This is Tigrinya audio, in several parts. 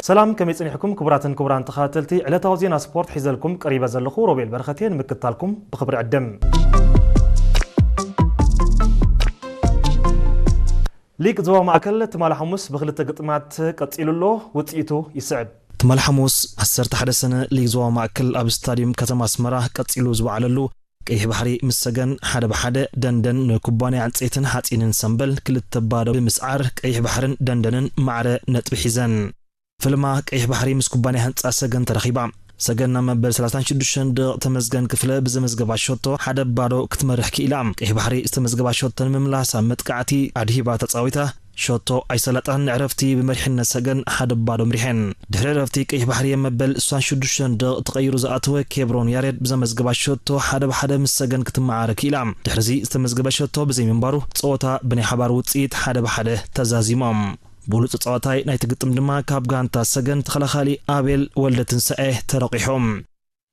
ሰላም፣ ከመይ ጸኒሕኩም ክቡራትን ክቡራን ተኸታተልቲ ዕለታዊ ዜና ስፖርት? ሒዘልኩም ቀሪበ ዘለኹ ሮቤል በረኸት እየ። ንምክትታልኩም ብኽብሪ ዕድም። ሊግ ዞባ ማእከል ትማሊ ሓሙስ ብክልተ ግጥማት ቀጺሉ ኣሎ። ውጽኢቱ ይስዕብ። ትማሊ ሓሙስ ዓሰርተ ሓደ ሰነ ሊግ ዞባ ማእከል ኣብ ስታድዩም ከተማ ኣስመራ ቀጺሉ ዝወዓለሉ፣ ቀይሕ ባሕሪ ምስ ሰገን ሓደ ብሓደ፣ ደንደን ንኩባንያ ዕንጸይትን ሓጺንን ሰምበል ክልተ ባዶ ብምስዓር፣ ቀይሕ ባሕርን ደንደንን ማዕረ ነጥቢ ሒዘን። ፍልማ ቀይሕ ባሕሪ ምስ ኩባንያ ህንጻ ሰገን ተረኺባ። ሰገን ናብ መበል ሰላሳን ሽዱሽተን ደቂቕ ተመስገን ክፍለ ብዘመዝገባ ሸቶ ሓደ ባዶ ክትመርሕ ክኢላ። ቀይሕ ባሕሪ ዝተመዝገባ ሸቶ ንምምላስ ኣብ መጥቃዕቲ ኣድሂባ ተጻዊታ። ሸቶ ኣይሰለጣን። ንዕረፍቲ ብመሪሕነት ሰገን ሓደ ባዶ ምሪሐን። ድሕሪ ዕረፍቲ ቀይሕ ባሕሪ ኣብ መበል ስሳን ሽዱሽተን ደቂቕ ተቐይሩ ዝኣተወ ኬብሮን ያሬድ ብዘመዝገባ ሸቶ ሓደ ብሓደ ምስ ሰገን ክትመዓረ ክኢላ። ድሕሪዚ ዝተመዝገበ ሸቶ ብዘይምንባሩ ጸወታ ብናይ ሓባር ውጽኢት ሓደ ብሓደ ተዛዚሞም። ብሉጽ ተጻዋታይ ናይቲ ግጥም ድማ ካብ ጋንታ ሰገን ተኸላኻሊ ኣቤል ወልደትንሳኤ ተረቂሑ።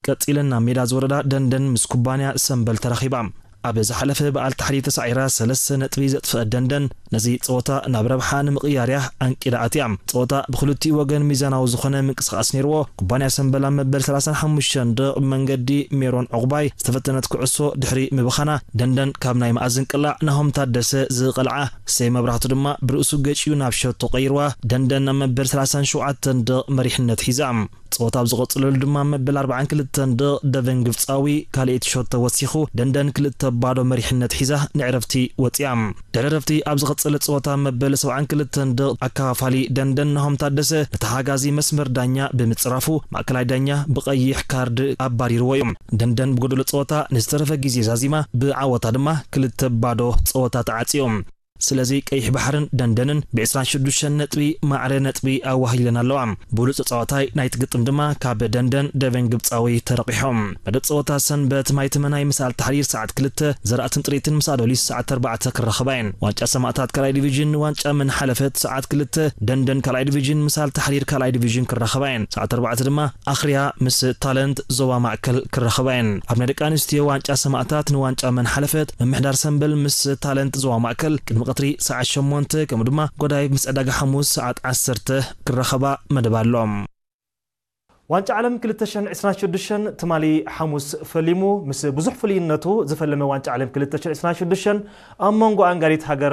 ቀጺለን ናብ ሜዳ ዝወረዳ ደንደን ምስ ኩባንያ ሰምበል ተራኺባ። ኣብ ዝሓለፈ በዓል ታሕሪ ተሳዒራ ሰለስተ ነጥቢ ዘጥፍአት ደንደን፣ ነዚ ጸወታ ናብ ረብሓ ንምቕያር እያ ኣንቂዳ ኣትያ። ጸወታ ብኽልቲኡ ወገን ሚዛናዊ ዝኾነ ምንቅስቓስ ነይርዎ። ኩባንያ ሰምበል ኣብ መበል ሰላሳን ሓሙሽተን ደቂቕ ብመንገዲ ሜሮን ዕቑባይ ዝተፈተነት ኩዕሶ ድሕሪ ምብኻና፣ ደንደን ካብ ናይ መኣዝን ቅላዕ ናሆም ታደሰ ዝቐልዓ፣ ሰይ መብራህቱ ድማ ብርእሱ ገጭዩ ናብ ሸቶ ቀይርዋ። ደንደን ኣብ መበል ሰላሳን ሸውዓተን ደቂቕ መሪሕነት ሒዛ። ጸወታ ኣብ ዝቐጽለሉ ድማ መበል ኣርባዓን ክልተን ደቂቕ ደቨን ግብጻዊ ካልኣይቲ ሸቶ ወሲኹ፣ ደንደን ክልተ ባዶ መሪሕነት ሒዛ ንዕረፍቲ ወጺኣ። ድሕሪ ዕረፍቲ ኣብ ዝቐጸለ ጸወታ መበል ሰብዓን ክልተን ደቂቕ ኣከፋፋሊ ደንደን ናሆም ታደሰ ንተሓጋዚ መስመር ዳኛ ብምጽራፉ፣ ማእከላይ ዳኛ ብቐይሕ ካርድ ኣባሪርዎ እዩ። ደንደን ብጎደሎ ጸወታ ንዝተረፈ ግዜ ዛዚማ፣ ብዓወታ ድማ ክልተ ባዶ ጸወታ ተዓጽዩ። ስለዚ ቀይሕ ባሕርን ደንደንን ብ ዕስራን ሽዱሽተን ነጥቢ ማዕረ ነጥቢ ኣዋህሊለን ኣለዋ። ብሉጽ ተጻዋታይ ናይቲ ግጥም ድማ ካብ ደንደን ደቨን ግብጻዊ ተረቂሖም። መደብ ጸወታ ሰንበት ማይ ተመናይ ምስ ኣልታሕሪር ሰዓት ክልተ፣ ዘራእትን ጥሪትን ምስ ኣዶሊስ ሰዓት ኣርባዕተ ክራኸባ እየን። ዋንጫ ሰማእታት ካልኣይ ዲቪዥን ንዋንጫ መን ሓለፈት ሰዓት ክልተ፣ ደንደን ካልኣይ ዲቪዥን ምስ ኣልታሕሪር ካልኣይ ዲቪዥን ክራኸባ እየን። ሰዓት ኣርባዕተ ድማ ኣኽርያ ምስ ታለንት ዞባ ማእከል ክራኸባ እየን። ኣብ ናይ ደቂ ኣንስትዮ ዋንጫ ሰማእታት ንዋንጫ መን ሓለፈት፣ ምምሕዳር ሰምበል ምስ ታለንት ዞባ ማእከል ቅድሚ ቀትሪ ሰዓት ሸሞንተ፣ ከምኡ ድማ ጎዳይ ምስ ዕዳጋ ሓሙስ ሰዓት ዓሰርተ ክራኸባ መደብ ኣሎ። ዋንጫ ዓለም ክልተ ሽሕን ዕስራን ሽዱሽተን ትማሊ ሓሙስ ፈሊሙ። ምስ ብዙሕ ፍሉይነቱ ዝፈለመ ዋንጫ ዓለም ክልተ ሽሕን ዕስራን ሽዱሽተን ኣብ መንጎ ኣንጋሪት ሃገር